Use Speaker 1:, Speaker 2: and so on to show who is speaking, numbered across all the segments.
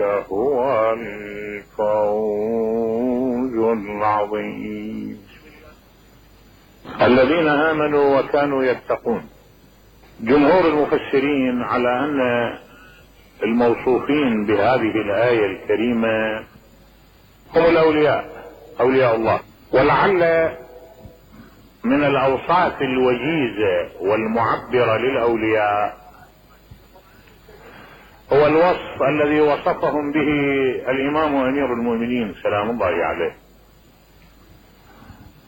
Speaker 1: هو الفوز العظيم. الذين آمنوا وكانوا يتقون. جمهور المفسرين على أن الموصوفين بهذه الآية الكريمة هم الأولياء، أولياء الله. ولعل من الأوصاف الوجيزة والمعبرة للأولياء هو الوصف الذي وصفهم به الإمام أمير المؤمنين سلام الله عليه.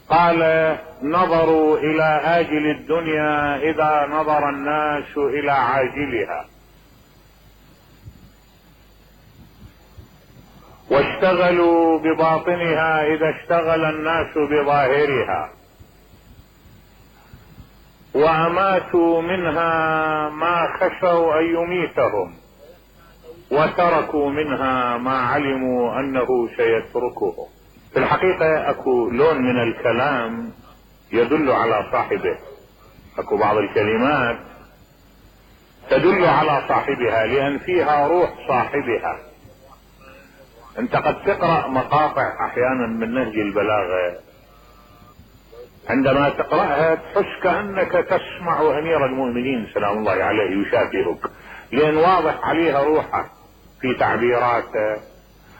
Speaker 1: قال: نظروا إلى آجل الدنيا إذا نظر الناس إلى عاجلها، واشتغلوا بباطنها إذا اشتغل الناس بظاهرها، وأماتوا منها ما خشوا أن يميتهم، وتركوا منها ما علموا أنه سيتركهم. في الحقيقة اكو لون من الكلام يدل على صاحبه، اكو بعض الكلمات تدل على صاحبها لأن فيها روح صاحبها. انت قد تقرأ مقاطع احيانا من نهج البلاغة، عندما تقرأها تحس كأنك تسمع امير المؤمنين سلام الله عليه يشافهك، لأن واضح عليها روحه في تعبيراته،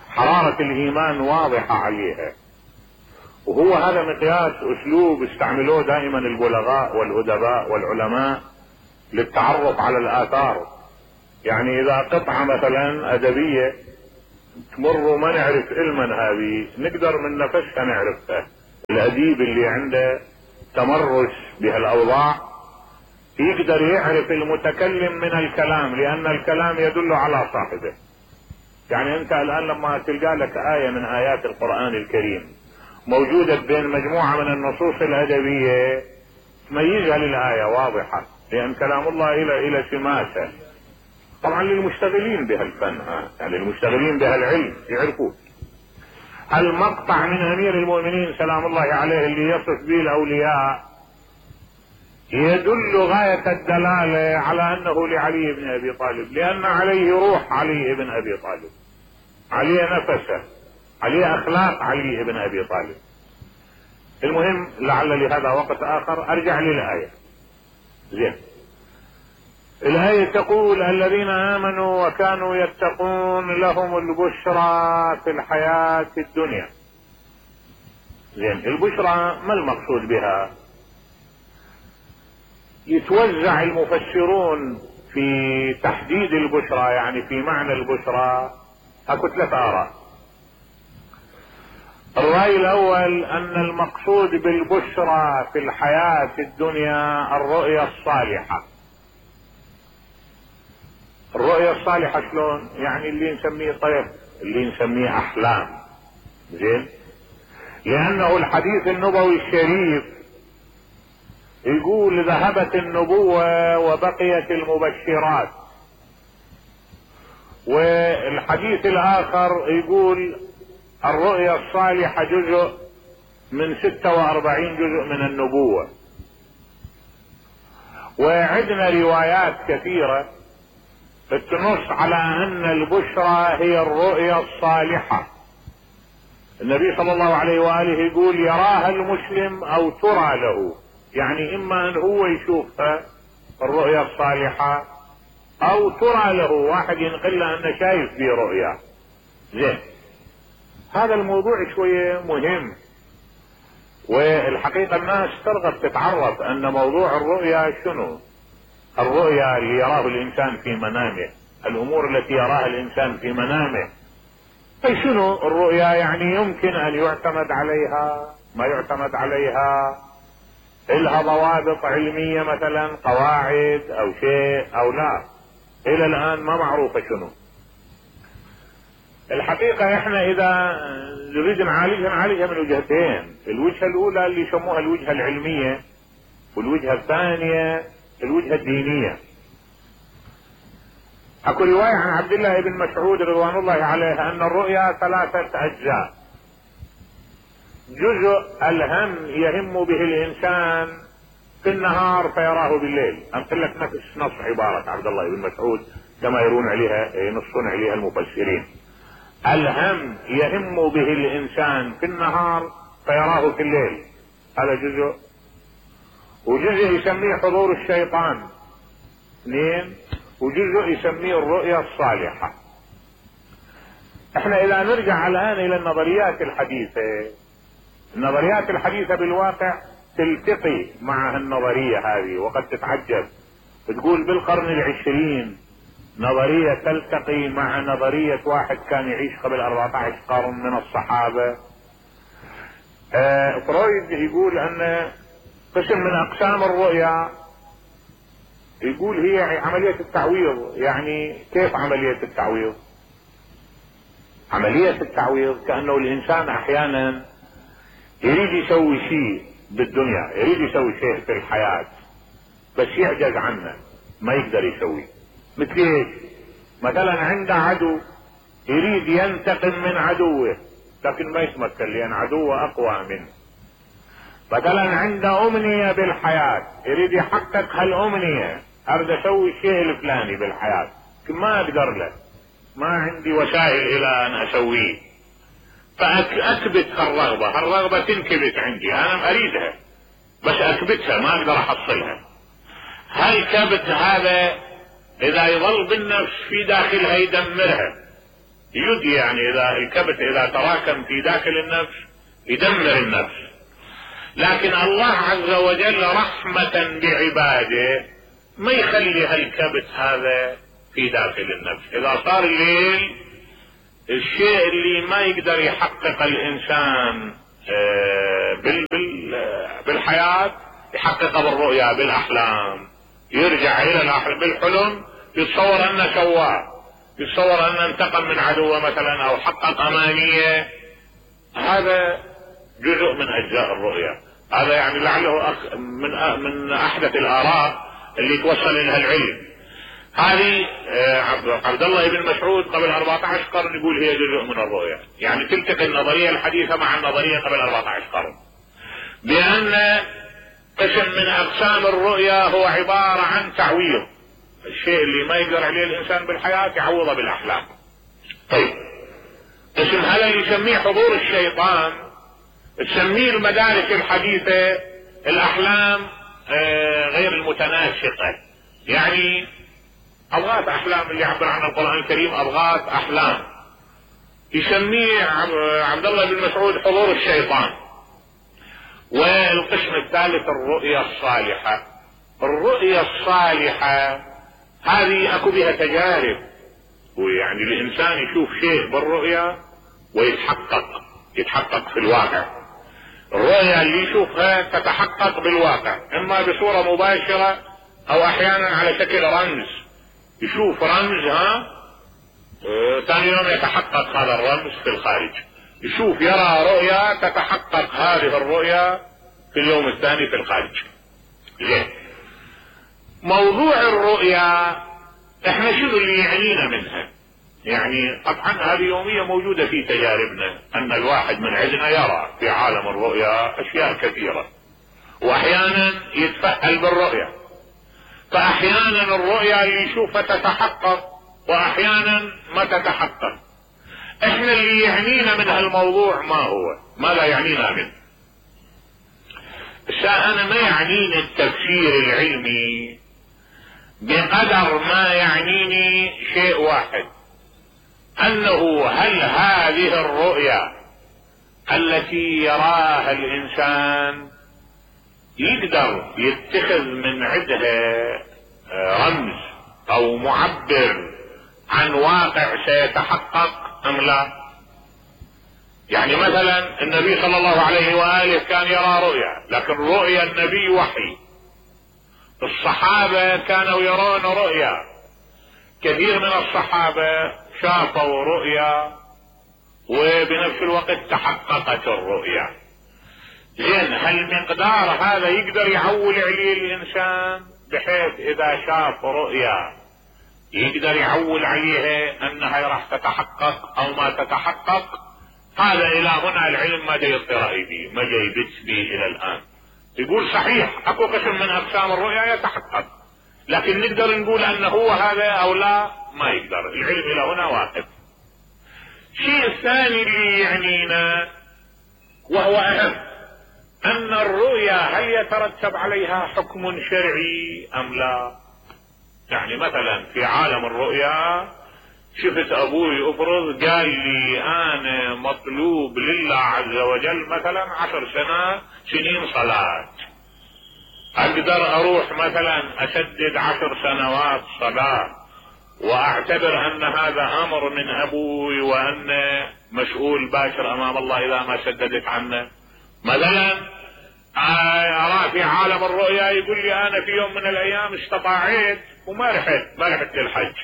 Speaker 1: حرارة الايمان واضحة عليها. وهو هذا مقياس اسلوب استعملوه دائما البلغاء والادباء والعلماء للتعرف على الاثار. يعني اذا قطعة مثلا ادبية تمر ما نعرف علما هذه، نقدر من نفسها نعرفها. الاديب اللي عنده تمرس بهالاوضاع يقدر يعرف المتكلم من الكلام، لان الكلام يدل على صاحبه. يعني انت الان لما تلقى لك آية من آيات القرآن الكريم موجودة بين مجموعة من النصوص الأدبية تميزها للآية واضحة، لأن كلام الله إلى سماسة. طبعا للمشتغلين بهالفن، يعني المشتغلين بهالعلم يعرفون. المقطع من أمير المؤمنين سلام الله عليه اللي يصف به الأولياء يدل غاية الدلالة على أنه لعلي بن أبي طالب، لأن عليه روح علي بن أبي طالب، عليه نفسه، عليه أخلاق علي بن أبي طالب. المهم لعل لهذا وقت آخر أرجع للآية. زين، الآية تقول: الذين آمنوا وكانوا يتقون لهم البشرى في الحياة الدنيا. زين، البشرى ما المقصود بها؟ يتوزع المفسرون في تحديد البشرى، يعني في معنى البشرى اكو 3 آراء. الرأي الأول أن المقصود بالبشرى في الحياة الدنيا الرؤيا الصالحة. الرؤيا الصالحة شلون؟ يعني اللي نسميه طيف، اللي نسميه أحلام. زين، لأنه الحديث النبوي الشريف يقول: ذهبت النبوة وبقيت المبشرات. والحديث الآخر يقول: الرؤيا الصالحة جزء من 46 جزء من النبوة. وعندنا روايات كثيرة تنص على أن البشرى هي الرؤيا الصالحة. النبي صلى الله عليه وآله يقول: يراها المسلم أو ترى له، يعني إما أن هو يشوفها الرؤيا الصالحة أو ترى له، واحد ينقل له أنه شايف في رؤيا. زين، هذا الموضوع شوية مهم، والحقيقة الناس ترغب تتعرف أن موضوع الرؤيا شنو. الرؤيا اللي يراه الإنسان في منامه، الأمور التي يراها الإنسان في منامه. أي شنو الرؤيا؟ يعني يمكن أن يعتمد عليها، ما يعتمد عليها، إلها ضوابط علمية مثلا، قواعد أو شيء أو لا. إلى الآن ما معروفة شنو. الحقيقة احنا اذا نريد نعالجها من وجهتين. الوجهة الاولى اللي يسموها الوجهة العلمية، والوجهة الثانية الوجهة الدينية. اكو رواية عن عبد الله بن مسعود رضوان الله عليه ان الرؤيا 3 اجزاء. جزء الهم يهم به الانسان في النهار فيراه بالليل. امثل لك نفس نص عبارة عبد الله بن مسعود كما ينصون عليها المفسرين. الهم يهم به الانسان في النهار فيراه في الليل، هذا جزء. وجزء يسميه حضور الشيطان، اثنين. وجزء يسميه الرؤيا الصالحة. احنا اذا نرجع الان الى النظريات الحديثة بالواقع تلتقي مع النظرية هذه، وقد تتعجب تقول بالقرن العشرين نظرية تلتقي مع نظرية واحد كان يعيش قبل 14 قرن من الصحابة. فرويد يقول ان قسم من اقسام الرؤيا يقول هي عملية التعويض. يعني كيف عملية التعويض؟ عملية التعويض كأنه الانسان احيانا يريد يسوي شيء بالدنيا، يريد يسوي شيء في الحياة بس يعجز عنه، ما يقدر يسوي. مثل ايش؟ مثلا عنده عدو يريد ينتقم من عدوه لكن ما يتمكن لان عدوه اقوى منه. مثلا عنده امنية بالحياة يريد يحقق هالامنية، اريد اسوي الشيء الفلاني بالحياة لكن ما اقدر له، ما عندي وسائل الى ان اسويه، فاكبت هالرغبة تنكبت عندي، انا اريدها بس اكبتها ما اقدر احصلها. هالكبت هذا اذا يظل بالنفس في داخلها يدمرها، يعني اذا الكبت اذا تراكم في داخل النفس يدمر النفس. لكن الله عز وجل رحمة بعباده ما يخلي هالكبت هذا في داخل النفس. اذا صار الليل الشيء اللي ما يقدر يحقق الانسان بالحياة يحققه بالرؤيا بالاحلام، يرجع الى بالحلم يتصور انه سواه، يتصور انه انتقم من عدوه مثلا او حقق امانية. هذا جزء من اجزاء الرؤيا. هذا يعني لعله من احدث الاراء اللي توصل الى العلم. هذه عبد الله بن مسعود قبل 14 قرن يقول هي جزء من الرؤيا. يعني تلتقي النظرية الحديثة مع النظرية قبل 14 قرن بان قسم من اقسام الرؤيا هو عبارة عن تعويض، الشيء اللي ما يقدر عليه الانسان بالحياة يعوضه بالاحلام. طيب قسم هذا اللي يسميه حضور الشيطان تسميه المدارس الحديثة الاحلام غير المتناسقة، يعني اضغاث احلام اللي يعبر عنها القرآن الكريم اضغاث احلام. يسميه عبد الله بن مسعود حضور الشيطان. والقسم الثالث الرؤيا الصالحة. الرؤيا الصالحة هذه اكو بها تجارب، ويعني الانسان يشوف شيء بالرؤيا يتحقق في الواقع. الرؤيا اللي يشوفها تتحقق بالواقع اما بصورة مباشرة او احيانا على شكل رمز، يشوف رمز ثاني يوم يتحقق هذا الرمز في الخارج، يرى رؤيا تتحقق هذه الرؤيا في اليوم الثاني في الخارج. زين، موضوع الرؤيا احنا شو اللي يعنينا منها؟ يعني طبعا هذه يومية موجودة في تجاربنا ان الواحد من عندنا يرى في عالم الرؤيا اشياء كثيرة، واحيانا يتفأل بالرؤيا، فاحيانا الرؤيا اللي يشوفها تتحقق واحيانا ما تتحقق. احنا اللي يعنينا من هالموضوع ما هو؟ ماذا يعنينا منه؟ انا ما يعنيني التفسير العلمي بقدر ما يعنيني شيء واحد، انه هل هذه الرؤيا التي يراها الانسان يقدر يتخذ من عندها رمز او معبر عن واقع سيتحقق ام لا؟ يعني مثلا النبي صلى الله عليه وآله كان يرى رؤيا، لكن رؤيا النبي وحي. الصحابة كانوا يرون رؤيا، كثير من الصحابة شافوا رؤيا وبنفس الوقت تحققت الرؤيا. زين، هل مقدار هذا يقدر يعول عليه الانسان بحيث اذا شاف رؤيا يقدر يعول عليها انها راح تتحقق او ما تتحقق؟ هذا الى هنا العلم ما جاي يطرأي به، ما جاي يبت به الى الان. يقول صحيح اكو قسم من اقسام الرؤيا يتحقق، لكن نقدر نقول انه هو هذا او لا، ما يقدر. العلم الى هنا واقف. الشيء الثاني اللي يعنينا وهو اهم، ان الرؤيا هل يترتب عليها حكم شرعي ام لا؟ يعني مثلا في عالم الرؤيا شفت ابوي افرض قال لي انا مطلوب لله عز وجل مثلا 10 سنين صلاة، اقدر اروح مثلا اسدد 10 سنوات صلاة واعتبر ان هذا امر من ابوي وان مسؤول باشر امام الله اذا ما سددت عنه؟ مثلا ارى في عالم الرؤيا يقول لي انا في يوم من الايام استطاعت وما رحت للحج،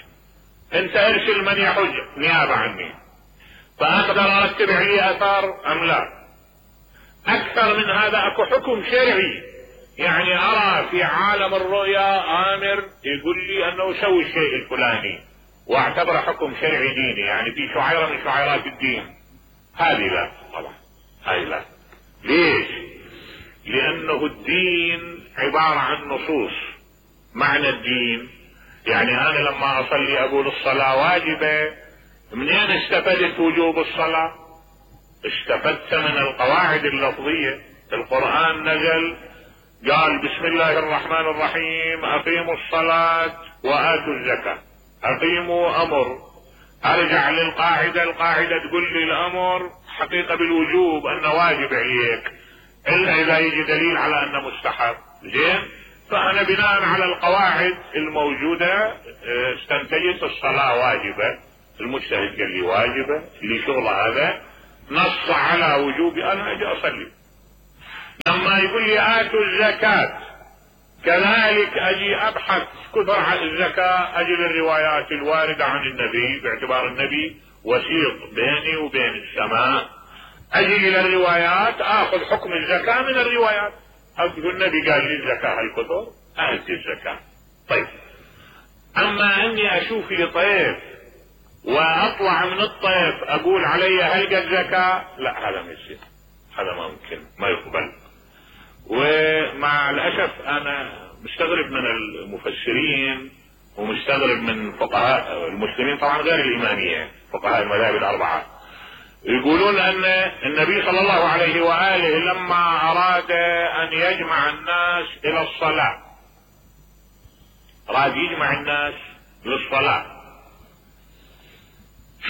Speaker 1: انت ارسل من يحج نيابة عني، فاقدر ارتب عليه اثار ام لا؟ اكثر من هذا اكو حكم شرعي، يعني ارى في عالم الرؤيا امر يقول لي انه سوي الشيء الفلاني واعتبر حكم شرعي ديني، يعني في شعيرة من شعيرات الدين. هذه لا طبعا، هذه لا. ليش؟ لانه الدين عبارة عن نصوص. معنى الدين يعني انا لما اصلي اقول الصلاة واجبة، منين استفدت وجوب الصلاة؟ استفدت من القواعد اللفظية. القرآن نزل قال بسم الله الرحمن الرحيم اقيموا الصلاة واتوا الزكاة. اقيموا امر، ارجع للقاعدة، القاعدة تقول لي الامر حقيقة بالوجوب انه واجب عليك الا اذا يجي دليل على انه مستحب. زين، فانا بناء على القواعد الموجودة استنتجت الصلاة واجبة، المجتهد قال لي واجبة، اللي شغله هذا نص على وجوب انا اجي اصلي. لما يقول لي اتوا الزكاة كذلك اجي ابحث كثر عن الزكاة، اجي للروايات الواردة عن النبي باعتبار النبي وسيط بيني وبين السماء، اجي الى الروايات اخذ حكم الزكاة من الروايات. اقول النبي قال لي الزكاة الكثر اتي الزكاة. طيب، اما اني اشوف لي طيف واطلع من الطيف اقول علي هلقى الزكاة، لا هذا ما يصير، هذا ما ممكن، ما يقبل. ومع الاسف انا مستغرب من المفسرين ومستغرب من فقهاء المسلمين، طبعا غير الامامية، فقهاء المذاهب الاربعة، يقولون ان النبي صلى الله عليه واله لما اراد ان يجمع الناس الى الصلاة، اراد يجمع الناس للصلاة،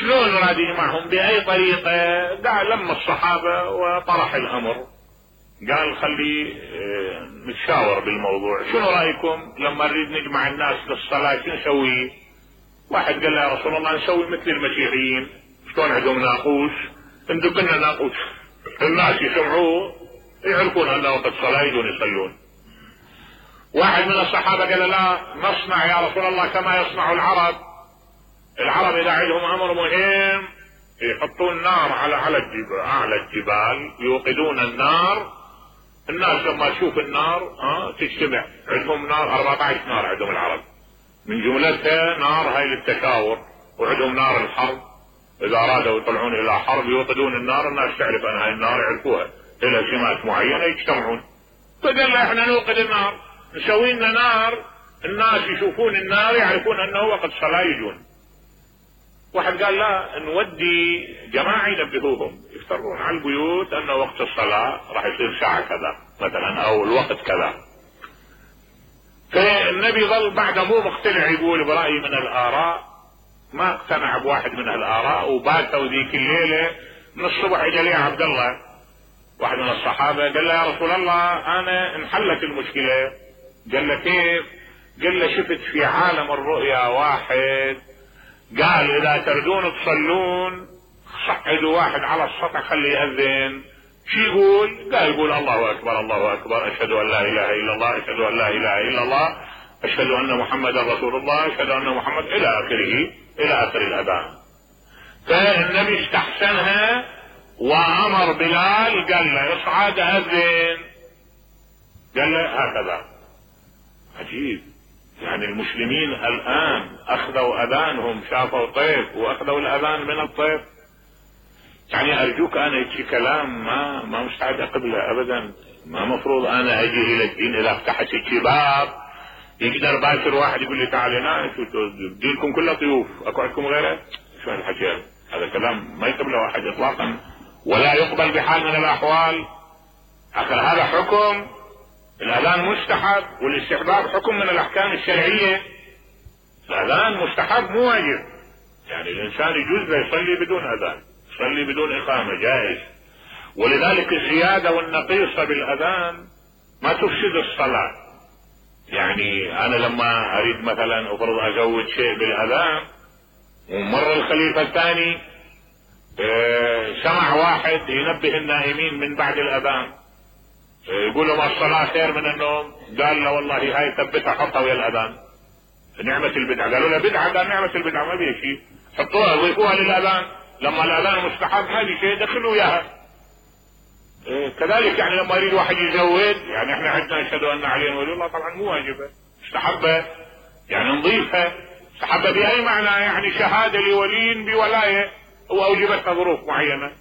Speaker 1: شلون اراد يجمعهم؟ باي طريقة؟ قال لما الصحابة وطرح الامر، قال خلي نتشاور بالموضوع، شنو رايكم لما نريد نجمع الناس للصلاة شو نسوي؟ واحد قال له يا رسول الله نسوي مثل المسيحيين، شلون عندهم ناقوس، ندق لنا ناقوس الناس يسمعوه يعرفون ان وقت الصلاة يجون يصلون. واحد من الصحابة قال لا نصنع يا رسول الله كما يصنع العرب اذا عندهم امر مهم يحطون نار على الجبال يوقدون النار، الناس لما تشوف النار تجتمع، عندهم نار 14 نار عندهم العرب، من جملتها نار هاي للتشاور، وعندهم نار الحرب، اذا ارادوا يطلعون الى حرب يوقدون النار، الناس تعرف ان هاي النار يعرفوها الى سمات معينة يجتمعون. فقال لا احنا نوقد النار، نسوي لنا نار الناس يشوفون النار يعرفون انه وقت صلاة يجون. واحد قال لا نودي جماعة ينبهوهم يفترون على البيوت انه وقت الصلاة راح يصير ساعة كذا مثلا او الوقت كذا. فالنبي ظل بعد مو مقتنع، يقول برأي من الاراء، ما اقتنع بواحد من الاراء، وباتوا ذيك الليلة من الصبح اجى لي عبد الله واحد من الصحابة قال له يا رسول الله انا انحلت المشكلة. قال له كيف؟ قال له شفت في عالم الرؤيا واحد قال اذا تردون تصلون صعدوا واحد على السطح خليه يأذن. شو يقول؟ قال يقول الله اكبر الله اكبر، اشهد ان لا اله الا الله، اشهد ان لا اله الا الله، اشهد ان محمدا رسول الله، اشهد ان محمد الى اخره، الى اخر الاذان. فالنبي استحسنها وامر بلال قال له اصعد اذن، قال له هكذا. عجيب، يعني المسلمين الان اخذوا اذانهم، شافوا طيف واخذوا الاذان من الطيف. يعني ارجوك انا يجي كلام ما مستعد اقبله ابدا، ما مفروض انا اجي الى الدين اذا فتحت الباب يقدر باكر واحد يقول لي تعال هنا دينكم كلها طيوف اكو عندكم غيره؟ شو هالحكي هذا كلام ما يقبله واحد اطلاقا ولا يقبل بحال من الاحوال. اخر هذا حكم، الاذان مستحب والاستحباب حكم من الاحكام الشرعيه. الاذان مستحب مو واجب، يعني الانسان يجوز له يصلي بدون اذان، يصلي بدون اقامه جائز. ولذلك الزياده والنقيصه بالاذان ما تفسد الصلاه. يعني انا لما اريد مثلا افرض ازود شيء بالاذان ومر الخليفه الثاني سمع واحد ينبه النائمين من بعد الاذان يقول لهم الصلاه خير من النوم، قال له والله هاي ثبتها حطها ويا الاذان نعمه البدعه. قالوا له بدعه؟ قال نعمه البدعه ما بيها شيء، حطوها ضيفوها للاذان، لما الاذان مستحب ما في شيء دخلوا اياها. كذلك يعني لما يريد واحد يزود، يعني احنا عندنا نشهد ان علي ولي الله طبعا مو واجبه، مستحبه يعني نضيفها. مستحبه باي معنى؟ يعني شهاده لولي بولايه واوجبتها ظروف معينه.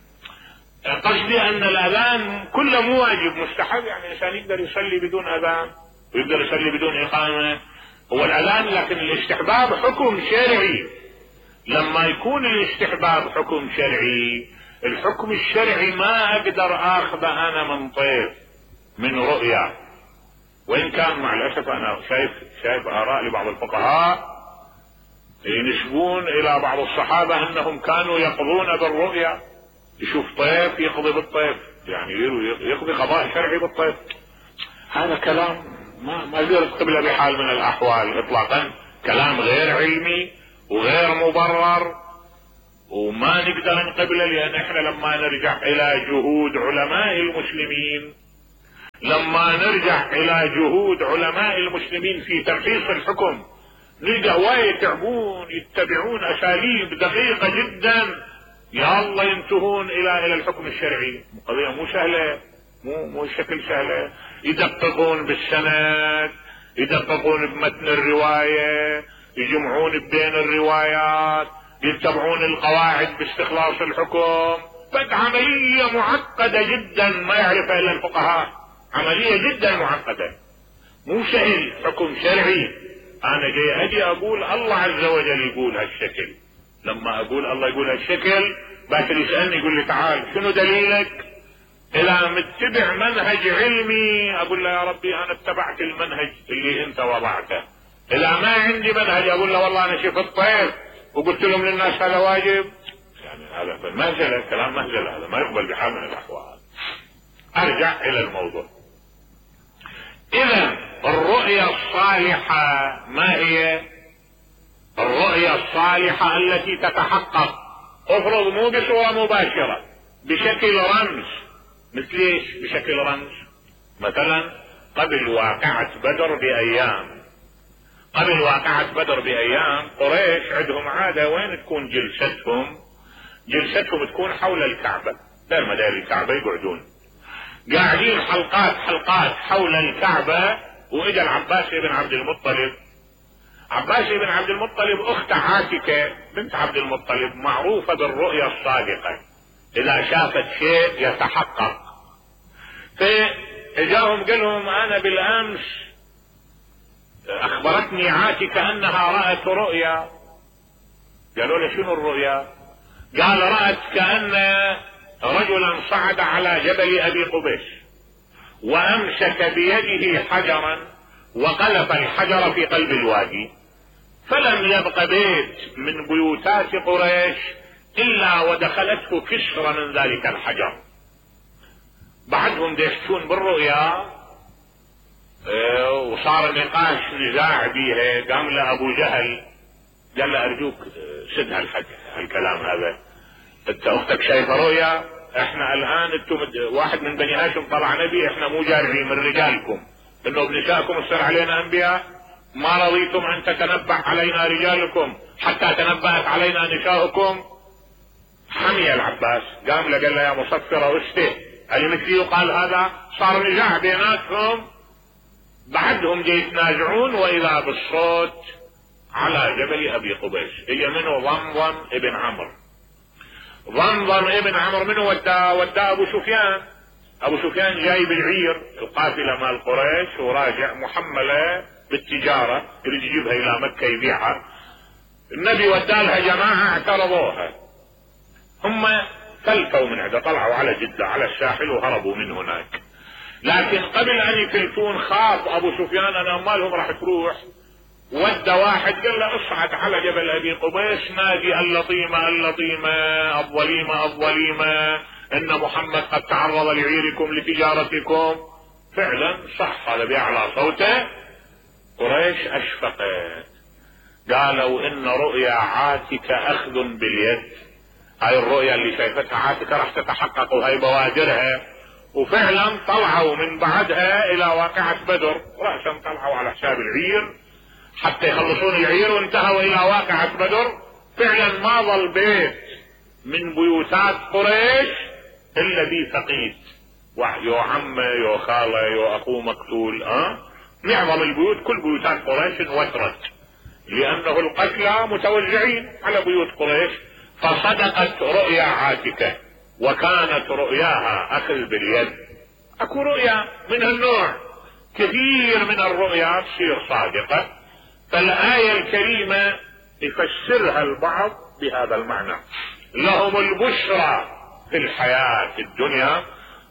Speaker 1: قصدي ان الاذان كله مو واجب، مستحب، يعني الانسان يقدر يصلي بدون اذان ويقدر يصلي بدون اقامه. هو الاذان لكن الاستحباب حكم شرعي. لما يكون الاستحباب حكم شرعي، الحكم الشرعي ما اقدر اخذه انا من طيف من رؤيا. وان كان مع الاسف انا شايف اراء لبعض الفقهاء ينسبون الى بعض الصحابه انهم كانوا يقضون بالرؤيا، يشوف طيف يقضي بالطيف، يعني يقضي قضاء شرعي بالطيف. هذا كلام ما يقدر قبله بحال من الاحوال اطلاقا، كلام غير علمي وغير مبرر وما نقدر نقبله. لان احنا لما نرجع الى جهود علماء المسلمين، في تمحيص الحكم نلقى هواية يتعبون يتبعون اساليب دقيقة جدا يا الله ينتهون الى الحكم الشرعي. قضية مو سهلة، مو شكل سهلة. يدققون بالسند، يدققون بمتن الرواية، يجمعون بين الروايات، يتبعون القواعد باستخلاص الحكم. عملية معقدة جدا ما يعرفها الا الفقهاء، عملية جدا معقدة مو سهل. حكم شرعي انا اجي اقول الله عز وجل يقول هالشكل، لما اقول الله يقول هالشكل باكر يسألني يقول لي تعال شنو دليلك؟ اذا متبع منهج علمي اقول له يا ربي انا اتبعت المنهج اللي انت وضعته. اذا ما عندي منهج اقول له والله انا شفت طيف وقلت لهم للناس هذا واجب. يعني هذا مهزلة، كلام مهزلة، هذا ما يقبل بحال من الاحوال. ارجع الى الموضوع. اذا الرؤيا الصالحة ما هي؟ الرؤيا الصالحة التي تتحقق افرض مو بصورة مباشرة، بشكل رمز. مثل ايش بشكل رمز؟ مثلا قبل واقعة بدر بأيام قريش عندهم عادة وين تكون جلستهم تكون حول الكعبة، دار مدار الكعبة يقعدون قاعدين حلقات حول الكعبة. واجا العباس بن عبد المطلب اخت عاتكة بنت عبد المطلب معروفة بالرؤيا الصادقة، اذا شافت شيء يتحقق. فاجاهم قال لهم انا بالامس اخبرتني عاتكة انها رأت رؤيا. قالوا له شنو الرؤيا؟ قال رأت كأن رجلا صعد على جبل ابي قبيس وامسك بيده حجرا وقذف الحجر في قلب الوادي، فلم يبق بيت من بيوتات قريش الا ودخلته كسرة من ذلك الحجر. بعدهم يحكون بالرؤيا وصار نقاش نزاع بيها. قام له ابو جهل قال له ارجوك سد هالكلام هذا، انت اختك شايفه رؤيا، احنا الان انتم واحد من بني هاشم طلع نبي، احنا مو جارعين من رجالكم انه بنسائكم يصير علينا انبياء، ما رضيتم ان تتنبأ علينا رجالكم حتى تنبأت علينا نساؤكم. حمي العباس قام له قال له يا مصفرة وسته اللي مثلي يقال هذا. صار نزاع بيناتهم، بعدهم جاي يتنازعون واذا بالصوت على جبل ابي قبيس اجى منه ضمضم ابن عمرو. منه وداه ابو سفيان جاي بالعير القافلة مال قريش وراجع محملة بالتجارة، يريد يجيبها الى مكة يبيعها. النبي ودالها جماعة اعترضوها، هم فلتوا من عنده، طلعوا على جدة على الساحل وهربوا من هناك. لكن قبل ان يفلتون خاف ابو سفيان ان اموالهم راح تروح، ودى واحد قال له اصعد على جبل ابي قبيس نادي اللطيمة اللطيمة الظليمة الظليمة ان محمد قد تعرض لعيركم لتجارتكم. فعلا صح، هذا بأعلى صوته. قريش اشفقت، قالوا ان رؤيا عاتكة اخذ باليد، هاي الرؤيا اللي شايفتها عاتكة راح تتحقق وهي بوادرها. وفعلا طلعوا من بعدها الى واقعة بدر، رأسا طلعوا على حساب العير حتى يخلصون العير، وانتهوا الى واقعة بدر. فعلا ما ظل بيت من بيوتات قريش الا ذي فقيد، يو عمه يو خاله يو اخوه مقتول. معظم البيوت كل بيوتات قريش انوترت، لانه القتلى متوزعين على بيوت قريش. فصدقت رؤيا عاتكة، وكانت رؤياها اخذ باليد. اكو رؤيا من النوع كثير من الرؤيا تصير صادقة، فالآية الكريمة يفسرها البعض بهذا المعنى: لهم البشرى في الحياة الدنيا.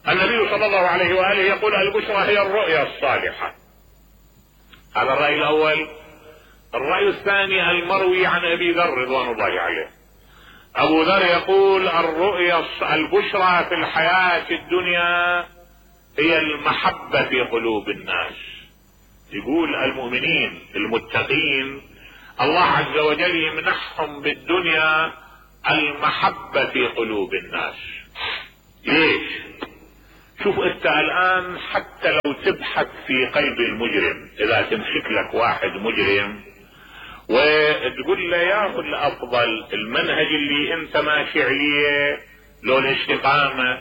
Speaker 1: النبي صلى الله عليه وآله يقول البشرى هي الرؤيا الصالحة. هذا الرأي الأول. الرأي الثاني المروي عن أبي ذر رضوان الله عليه، أبو ذر يقول الرؤيا البشرى في الحياة الدنيا هي المحبة في قلوب الناس. يقول المؤمنين المتقين الله عز وجل يمنحهم بالدنيا المحبة في قلوب الناس. ليش؟ شوف انت الان حتى لو تبحث في قلب المجرم، اذا تمسك لك واحد مجرم وتقول له يا اخي الافضل المنهج اللي انت ماشي عليه لو الاستقامة،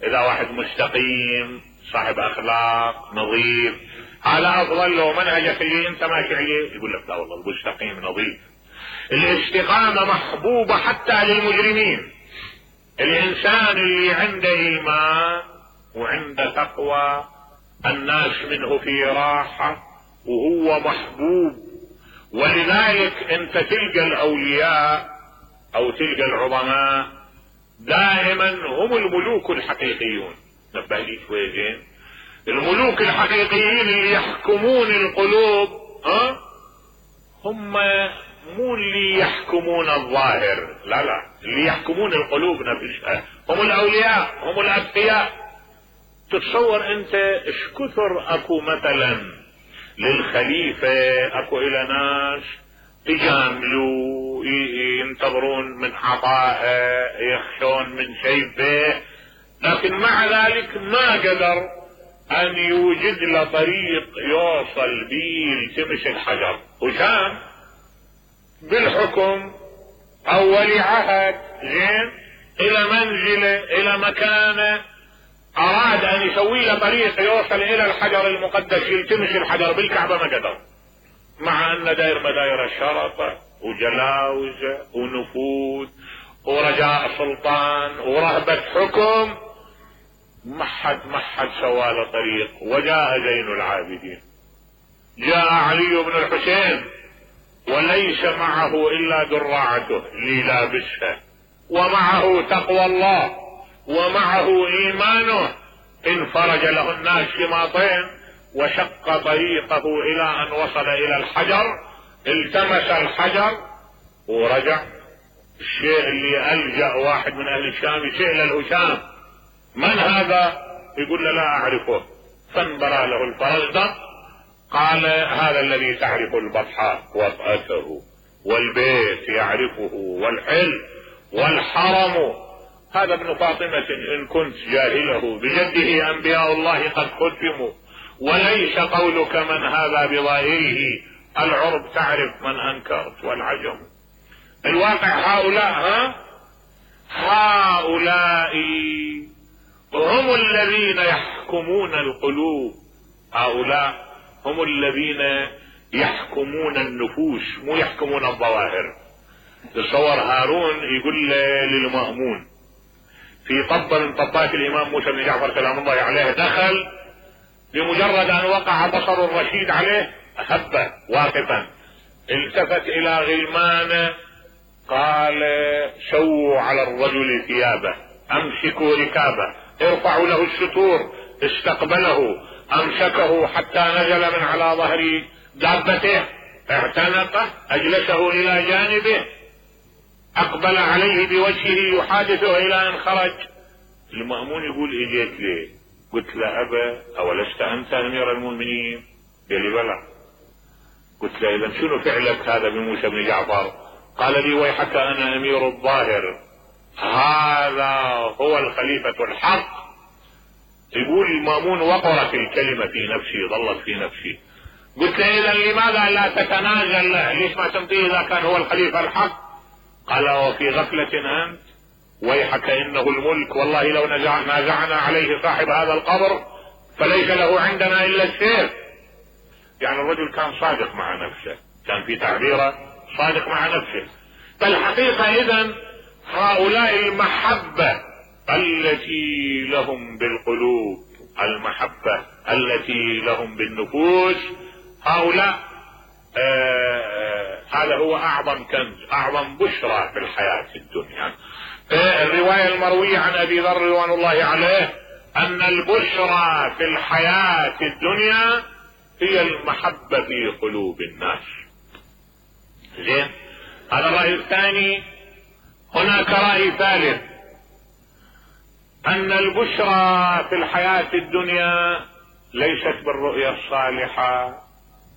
Speaker 1: اذا واحد مستقيم صاحب اخلاق نظيف هذا افضل لو منهجك اللي انت ماشي عليه، يقول لك لا والله المستقيم نظيف. الاستقامة محبوبة حتى للمجرمين. الانسان اللي عنده ايمان وعنده تقوى الناس منه في راحة وهو محبوب. ولذلك انت تلقى الاولياء او تلقى العظماء دائما هم الملوك الحقيقيون. نبه لي شوي زين، الملوك الحقيقيين اللي يحكمون القلوب هم مو اللي يحكمون الظاهر، لا لا، اللي يحكمون القلوب نفسها هم الاولياء، هم الاتقياء. تتصور انت ايش كثر اكو مثلا للخليفة اكو الى ناس يجاملوا ينتظرون من عطائه يخشون من سيفه، لكن مع ذلك ما قدر ان يوجد له طريق يوصل به لتمس الحجر. وكان بالحكم او ولي عهد زين الى منزله الى مكانه، اراد ان يسوي له طريق يوصل الى الحجر المقدس يلتمس الحجر بالكعبة، ما قدر، مع ان داير مداير الشرطة وجلاوزة ونفوذ ورجاء سلطان ورهبة حكم، ما حد سوى له طريق. وجاء زين العابدين، جاء علي بن الحسين وليس معه الا دراعته اللي لابسها، ومعه تقوى الله ومعه ايمانه. انفرج له الناس شماطين وشق طريقه الى ان وصل الى الحجر، التمس الحجر ورجع. الشيء اللي الجأ واحد من اهل الشام يسأل الهشام من هذا؟ يقول له لا اعرفه. فانبرى له الفرزدق، قال هذا الذي تعرف البطحاء وطأته والبيت يعرفه والحل والحرم، هذا ابن فاطمة ان كنت جاهله، بجده انبياء الله قد ختموا، وليس قولك من هذا بظاهره، العرب تعرف من انكرت والعجم. الواقع هؤلاء هم الذين يحكمون القلوب، هؤلاء هم الذين يحكمون النفوس، مو يحكمون الظواهر. تصور هارون يقول للمأمون في طب من طبات الامام موسى بن جعفر سلام الله عليه، دخل بمجرد ان وقع بصر الرشيد عليه هب واقفا، التفت الى غلمانه قال شووا على الرجل ثيابه، امسكوا ركابه، ارفعوا له الستور، استقبله، امسكه حتى نزل من على ظهر دابته، اعتنقه، اجلسه الى جانبه، اقبل عليه بوجهه يحادثه الى ان خرج. المأمون يقول اجيت ليه؟ قلت له ابا اولست انت امير المؤمنين؟ قال لي بلى. قلت له اذا شنو فعلك هذا بموسى بن جعفر؟ قال لي ويحك انا امير الظاهر، هذا هو الخليفة الحق. يقول المأمون وقرت الكلمة في نفسي، ظلت في نفسي. قلت له اذا لماذا لا تتنازل له؟ ليش ما تمضيه اذا كان هو الخليفة الحق؟ قال وفي غفلة انت؟ ويحك انه الملك، والله لو نازعنا عليه صاحب هذا القبر فليس له عندنا الا السيف. يعني الرجل كان صادق مع نفسه، كان في تعبيره صادق مع نفسه. فالحقيقة اذا هؤلاء المحبة التي لهم بالقلوب، المحبة التي لهم بالنفوس، هؤلاء هذا هو اعظم كنز، اعظم بشرى في الحياة الدنيا. الرواية المروية عن ابي ذر رضوان الله عليه ان البشرى في الحياة الدنيا هي المحبة في قلوب الناس. زين، هذا الرأي الثاني. هناك رأي ثالث، ان البشرى في الحياة الدنيا ليست بالرؤية الصالحة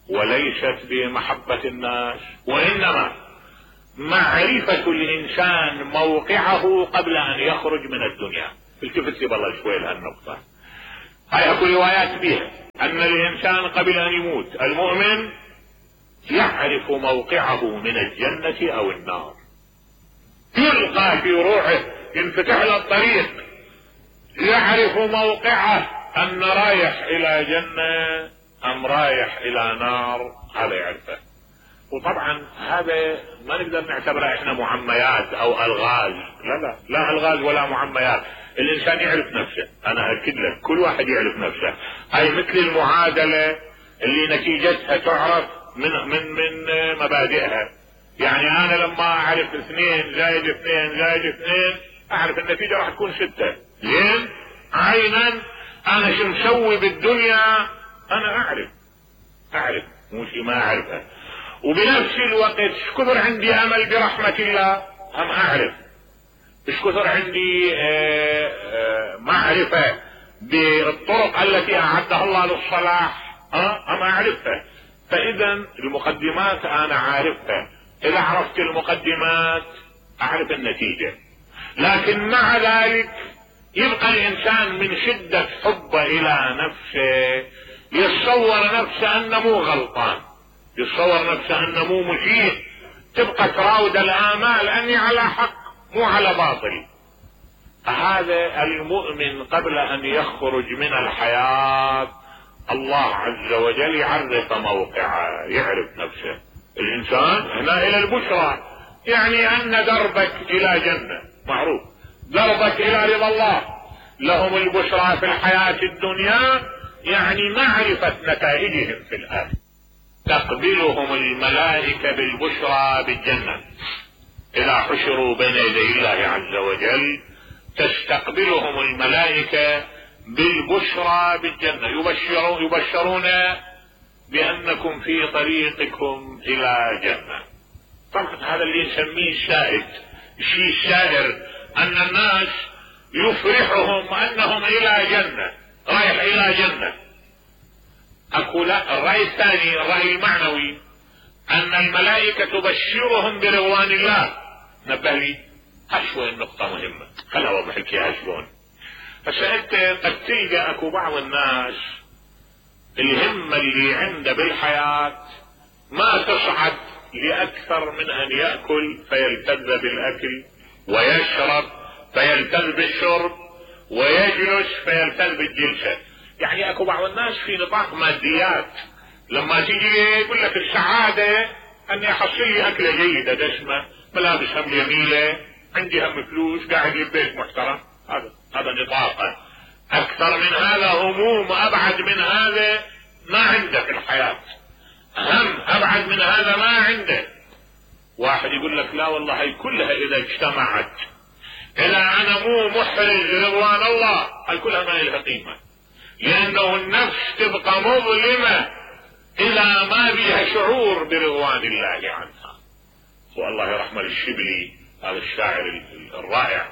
Speaker 1: وليست بمحبة الناس، وانما معرفة الانسان موقعه قبل ان يخرج من الدنيا. التفت لي بالله شوي لهالنقطة. هاي اكو روايات بها ان الانسان قبل ان يموت المؤمن يعرف موقعه من الجنة او النار، يلقى في روحه، ينفتح له الطريق، يعرف موقعه ان رايح الى جنة ام رايح الى نار، هذا يعرفه. وطبعا هذا ما نقدر نعتبره احنا معميات او الغاز، لا الغاز ولا معميات. الانسان يعرف نفسه، انا اكد لك كل واحد يعرف نفسه. هاي مثل المعادلة اللي نتيجتها تعرف من مبادئها. يعني انا لما اعرف 2 زائد 2 زائد 2 اعرف النتيجة راح تكون 6. لين عينا انا شو مسوي بالدنيا انا اعرف مو شي ما اعرفه. وبنفس الوقت ايش كثر عندي امل برحمة الله هم اعرف، ايش كثر عندي معرفة بالطرق التي اعدها الله للصلاح هم اعرفها. فاذا المقدمات انا عارفها، اذا عرفت المقدمات اعرف النتيجة. لكن مع ذلك يبقى الانسان من شدة حبه الى نفسه يتصور نفسه انه مو غلطان، يتصور نفسه انه مو مسيء، تبقى تراود الامال اني على حق مو على باطل. هذا المؤمن قبل ان يخرج من الحياة الله عز وجل يعرف موقعه، يعرف نفسه. الانسان هنا الى البشرى، يعني ان دربك الى جنة معروف، دربك الى رضا الله. لهم البشرى في الحياة الدنيا يعني معرفة نتائجهم في الآخرة. تقبلهم الملائكة بالبشرى بالجنة، إذا حشروا بين يدي الله عز وجل تستقبلهم الملائكة بالبشرى بالجنة، يبشرون بأنكم في طريقكم إلى جنة. طبعا هذا اللي نسميه الشاهد، الشيء الشاهر أن الناس يفرحهم أنهم إلى جنة، رايح إلى جنة. أقول الرأي الثاني، الرأي المعنوي، أن الملائكة تبشرهم برضوان الله. نبه لي هالشوي النقطة مهمة، خلها أوضح لك إياها شلون. فسألت قد تلقى أكو بعض الناس الهمة اللي عنده بالحياة ما تصعد لأكثر من أن يأكل فيلتذ بالأكل، ويشرب فيلتذ بالشرب، ويجلس فيلتذ بالجلسة. يعني اكو بعض الناس في نطاق ماديات، لما تيجي يقول لك السعادة اني احصل لي اكلة جيدة دسمة، ملابس هم جميلة، عندي هم فلوس، قاعد ببيت محترم. هذا نطاقه. اكثر من هذا هموم، ابعد من هذا ما عنده في الحياة. هم ابعد من هذا ما عنده. واحد يقول لك لا والله هي كلها اذا اجتمعت الى انا مو محرز رضوان الله، هي كلها ما لها قيمة، لانه النفس تبقى مظلمة اذا ما بها شعور برضوان الله عنها. والله يرحم الشبلي، هذا الشاعر الرائع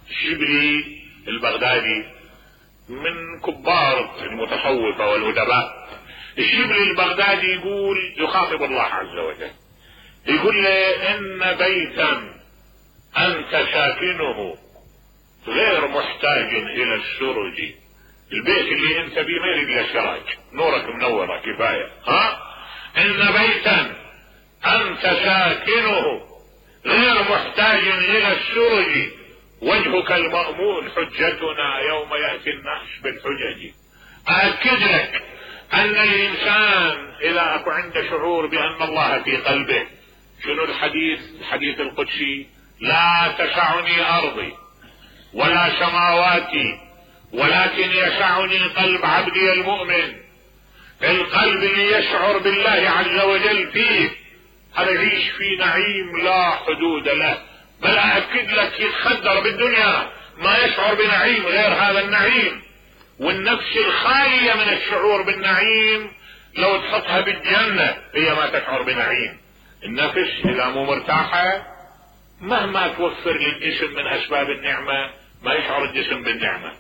Speaker 1: الشبلي البغدادي من كبار المتصوفة والأدباء. الشبلي البغدادي يقول، يخاطب الله عز وجل، يقول له ان بيتا انت ساكنه غير محتاج الى السرج. البيت اللي انت بيه ما يريد له سراج، نورك منورة كفاية. ان بيتا انت ساكنه غير محتاج الى السرج، وجهك المأمون حجتنا يوم يأتي الناس بالحجج. أأكد لك أن الإنسان إذا أكو عنده شعور بأن الله في قلبه، شنو الحديث القدسي؟ لا تسعني أرضي ولا سماواتي ولكن يسعني قلب عبدي المؤمن. القلب اللي يشعر بالله عز وجل فيه هذا يعيش في نعيم لا حدود له، بل أأكد لك يتخدر بالدنيا ما يشعر بنعيم غير هذا النعيم. والنفس الخالية من الشعور بالنعيم لو تحطها بالجنة هي ما تشعر بنعيم. النفس إذا مو مرتاحة مهما توفر للجسم من أسباب النعمة ما يشعر الجسم بالنعمة.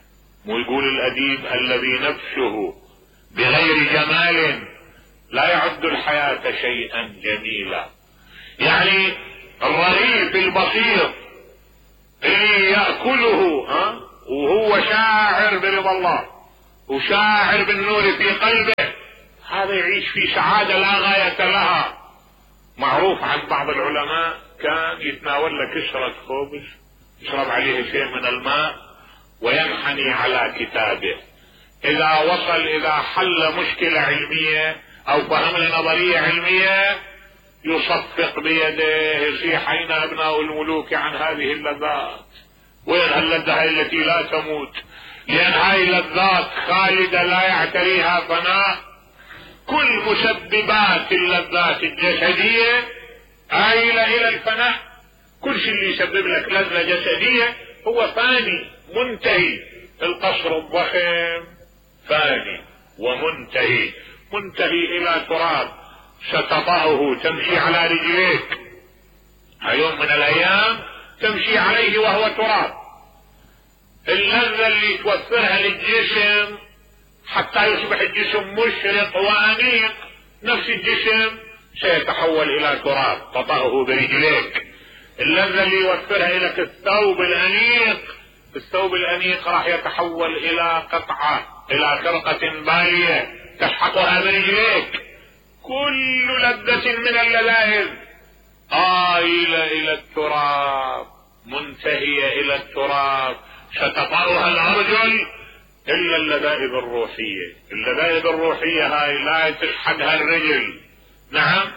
Speaker 1: مو يقول الأديب الذي نفسه بغير جمال لا يعد الحياة شيئا جميلا. يعني الرغيف البسيط اللي يأكله وهو شاعر برضا الله وشاعر بالنور في قلبه، هذا يعيش في سعادة لا غاية لها. معروف عن بعض العلماء كان يتناول له كسرة خبز يشرب عليه شيء من الماء وينحني على كتابه. إذا حل مشكلة علمية أو فهم نظرية علمية يصفق بيده يصيح أين أبناء الملوك عن هذه اللذات، وين اللذة التي لا تموت، لأن هاي اللذات خالدة لا يعتريها فناء. كل مسببات اللذات الجسدية آيلة إلى الفناء. كل شيء اللي يسبب لك لذة جسدية هو فاني منتهي. القصر الضخم فاني ومنتهي، منتهي إلى تراب ستطأه تمشي على رجليك، يوم من الأيام تمشي عليه وهو تراب. اللذة اللي توفرها للجسم حتى يصبح الجسم مشرق وأنيق، نفس الجسم سيتحول إلى تراب تطأه برجليك. اللذة اللي يوفرها لك الثوب الأنيق، الثوب الأنيق راح يتحول إلى قطعة، إلى خرقة بالية تسحقها برجليك. كل لذة من اللذائذ آيلة إلى التراب، منتهية إلى التراب، ستطأها الأرجل إلا اللذائذ الروحية. اللذائذ الروحية هاي لا تسحقها الرجل، نعم،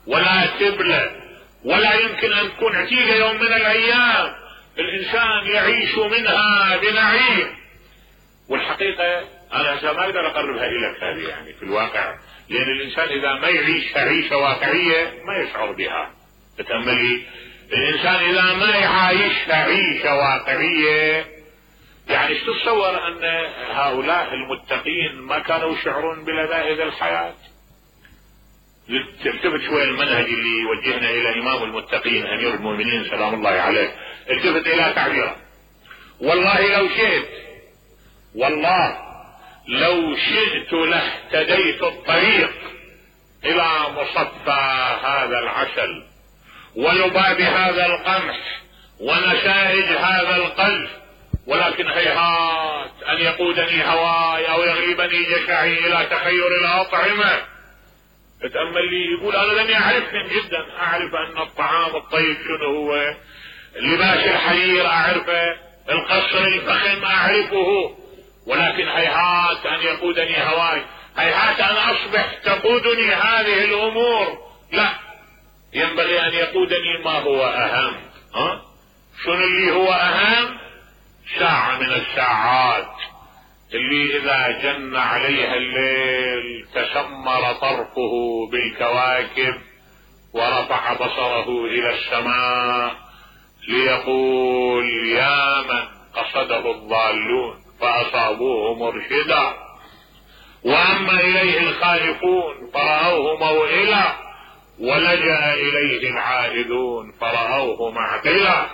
Speaker 1: ولا تبلى، ولا يمكن أن تكون عتيقة يوم من الأيام الإنسان يعيش منها بنعيم. والحقيقة أنا ما أقدر أقربها إليك هذه يعني في الواقع، لأن الإنسان إذا ما يعيش عيشة واقعية ما يشعر بها. تتأملي، الإنسان إذا ما يعيش عيشة واقعية، يعني تتصور أن هؤلاء المتقين ما كانوا يشعرون بلذائذ الحياة؟ التفت شوي المنهج اللي يوجهنا إلى إمام المتقين أمير المؤمنين سلام الله عليه، التفت إلى تعبيره: والله لو شئت لاهتديت الطريق إلى مصفى هذا العسل ولباب هذا القمح ونسائج هذا القلب، ولكن هيهات أن يقودني هواي أو يغلبني جشعي إلى تخير الأطعمة. اتأمل لي، يقول أنا لم يعرفهم جدا، أعرف أن الطعام الطيب شنو هو، لباس الحرير أعرفه، القصر الفخم أعرفه، ولكن هيهات أن يقودني هواي، هيهات أن أصبح تقودني هذه الأمور. لا، ينبغي أن يقودني ما هو أهم. شنو اللي هو أهم؟ ساعة من الساعات اللي اذا جن عليها الليل تشمر طرفه بالكواكب ورفع بصره الى السماء ليقول يا من قصده الضالون فاصابوه مرشدا، واما اليه الخائفون فرأوه موئلا، ولجأ اليه العائدون فرأوه معقلا.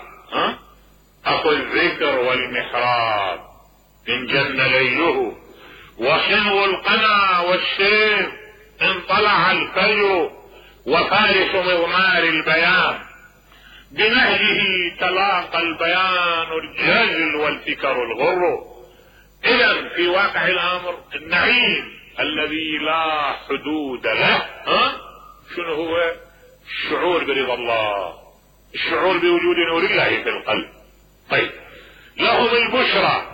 Speaker 1: اخو الذكر والمحراب ان جن ليله، وحنو القنا والسيف ان طلع الفجر، وفارس مضمار البيان بنهجه تلاقى البيان الجزل والفكر الغر. اذا في واقع الامر النعيم الذي لا حدود له شنو هو؟ الشعور برضا الله، الشعور بوجود نور الله في القلب. طيب، لهم البشرى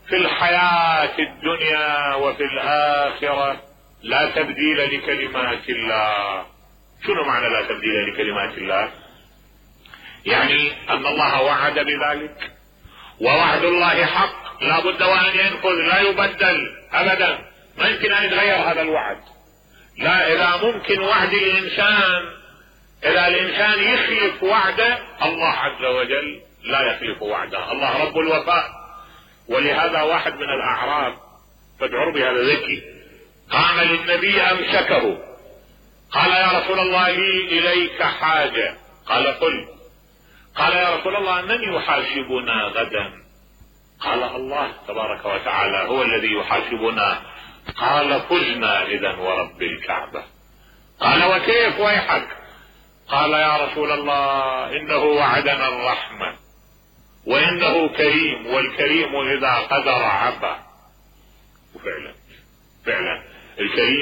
Speaker 1: في الحياة الدنيا وفي الآخرة لا تبديل لكلمات الله. شنو معنى لا تبديل لكلمات الله؟ يعني ان الله وعد بذلك، ووعد الله حق لا بد وان ينفذ، لا يبدل ابدا، ما يمكن ان يتغير هذا الوعد. لا، اذا ممكن وعد الانسان، اذا الانسان يخلف وعده، الله عز وجل لا يخلف وعده، الله رب الوفاء. ولهذا واحد من الاعراب فادعوا بهذا ذكي قام للنبي امسكه قال يا رسول الله لي اليك حاجة. قال قل. قال يا رسول الله من يحاسبنا غدا؟ قال الله تبارك وتعالى هو الذي يحاسبنا. قال فزنا اذا ورب الكعبة. قال وكيف ويحك؟ قال يا رسول الله انه وعدنا الرحمة وانه كريم، والكريم اذا قدر عبا. وفعلا الكريم